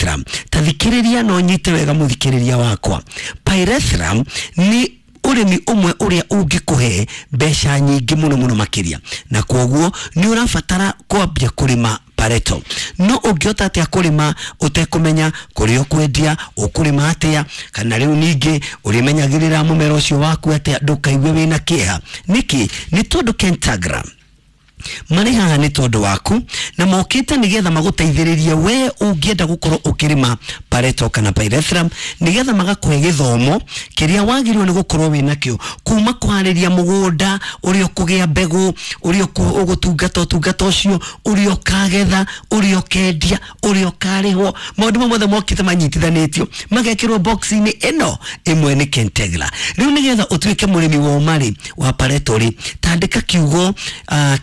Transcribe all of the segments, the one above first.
Pyrethrum, tathikĩrĩria no nyite wega mũthikĩrĩria wakwa. Pyrethrum nĩ ũrĩmi ũmwe ũrĩa ũngĩkũhe mbeca nyingĩ mũno mũno makĩria, na kwoguo nĩ ũrabatara kwambia kũrĩma pareto. No ũngĩhota atĩa kũrĩma ũtekũmenya kũrĩa ũkwendia, ũkũrĩma atĩa, kana rĩu ningĩ ũrĩmenyagĩrĩra mũmera ũcio waku atĩa ndũkaigue wĩna kĩeha? Nĩkĩ? Nĩ tondũ Kentagra marĩ haha nĩ tondũ waku, na mokĩte nĩgetha magũteithĩrĩrie we ũngĩenda gũkorwo ũkĩrĩma pareto kana pyrethrum, nĩgetha magakũhe gĩthomo kĩrĩa wagĩrĩirwo nĩ gũkorwo wĩnakĩo, kuma kũharĩria mũgũnda, ũrĩa ũkũgĩa mbegũ, ũrĩa ũgũtungata ũtungata ũcio, ũrĩa ũkagetha, ũrĩa ũkendia, ũrĩa ũkarĩhwo. Maũndũ mau mothe mokĩte manyitithanĩtio magekĩrwo box-inĩ ĩno ĩmwe nĩ Kentegra. Rĩu nĩgetha ũtuĩke mũrĩmi wa ũmarĩ wa pareto rĩ, tandĩka kiugo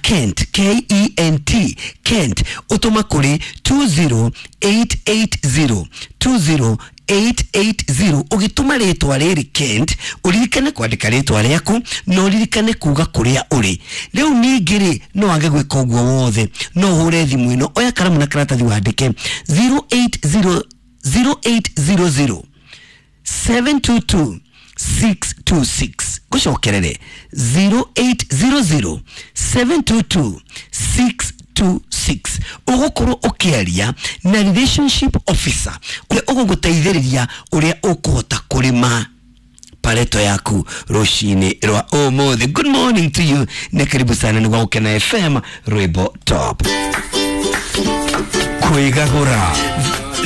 Kent, Kent, Kent, ũtũma kũrĩ 20880, 20880. Ũgĩtũma rĩtwa rĩrĩ Kent, ũririkane kwandĩka rĩtwa rĩaku na ũririkane kuga kũrĩa ũrĩ. Rĩu ningĩ rĩ, no wage gwĩka ũguo wothe, no ũhũre thimũ ĩno. Oya karamu na karatathi wandĩke 080 0800 722 626. Ngũcokerere, 0800 722 626. Ũgũkorwo ũkĩaria na relationship officer ũrĩa ũgũgũteithĩrĩria ũrĩa ũkũhota kũrĩma pareto yaku rũcinĩ rwa ũmũthĩ. Good morning to you na karibu sana. Nĩ gwa Gũkena FM, rwĩmbo top. Kwĩgagũra.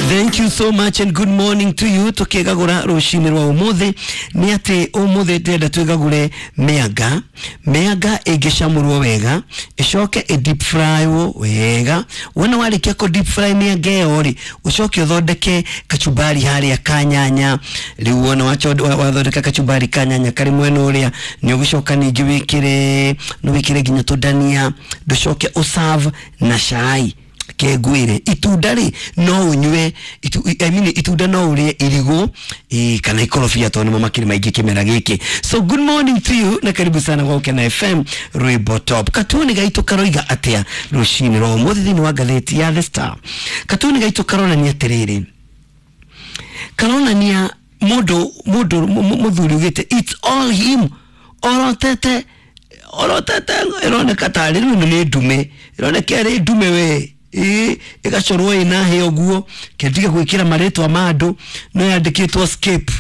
Thank you so much and good morning to you. Tukigagura rucinĩ rwa ũmũthĩ nĩ atĩ ũmũthĩ ndĩrenda twĩgagũre mĩanga. Mĩanga ĩngĩcamũrwo wega, ĩcoke ĩ deep frywo wega. Wona warĩkia kũ deep fry mĩanga ĩyo rĩ, ũcoke ũthondeke kachumbari harĩa ka nyanya. Rĩu wona wathondeka kachumbari ka nyanya karĩ mwena ũrĩa, nĩ ũgũcoka ningĩ wĩkĩre, no wĩkĩre nginya tũndania, ndũcoke ũserve na cai kengwĩre. Itunda rĩ, no ũnyue I mean, itunda no ũrĩe irigũ kana ikorobia, tondũ nĩmo makĩrĩ maingĩ kĩmera gĩkĩ. So good morning to you na karibu sana gwa Gũkena FM, rwĩmbo top. Katuni gaitũ karoiga atĩa rũcinĩ rwa ũmũthĩ thĩinĩ wa ngathĩti ya The Star? Katuni gaitũ karonania atĩrĩrĩ, karonania mũndũ mũthuri ugĩte it's all him, orotete ĩroneka tarĩ rĩu ĩno nĩ ndume, ĩroneka ĩrĩ ndume we, ĩĩ, ĩgacorwo ĩna hĩa ũguo. Kendige gwĩkĩra marĩtwa ma andũ, no yandĩkĩtwo skip.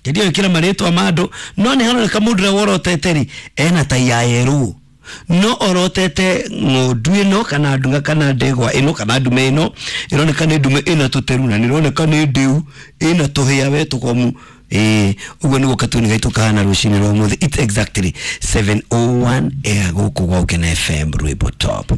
Kendige gwĩkĩra marĩtwa ma andũ, no nĩ haroneka mũndũ ũrĩa worotete rĩ ena tai ya yerũ, no orotete ng'ondu ĩno kana ndunga kana ndegwa ĩno kana ndume ĩno. Ĩroneka nĩ ndume ĩna tũteru na nĩroneka nĩ ndĩu, ĩna tũhĩa we tũkomu. Ĩĩ, ũguo nĩguo katuni gaitũ kahana rũcinĩ rwa ũmũthĩ. It's exactly 7:01 gũkũ gwa Gũkena FM, rwĩmbo top.